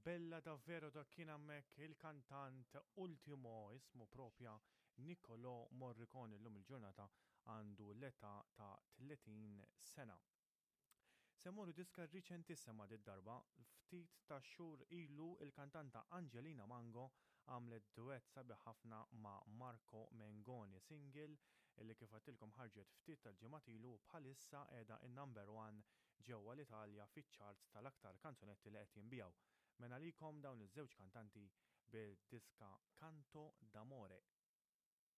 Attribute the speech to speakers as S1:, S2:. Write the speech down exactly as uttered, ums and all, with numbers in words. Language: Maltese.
S1: Bella Davvero, dak kien hemmhekk il-kantant Ultimo, ismu propja Niccolò Morricone, llum il-ġurnata għandu l-età ta' tletin sena. Se mmorru diska riċentissima did-darba, ftit ta' xhur ilu il-kantanta Angelina Mango għamlet duett sabiħ ħafna ma' Marco Mengoni, single illi kif għedtilkom ħarġet ftit tal-ġimgħat ilu u bħalissa qiegħda in-number one ġewwa l-Italja fiċ-charts tal-aktar kanzunetti li qed jinbiegħu. Mela għalikom dawn iż-żewġ kantanti bil-diska Canto d'Amore.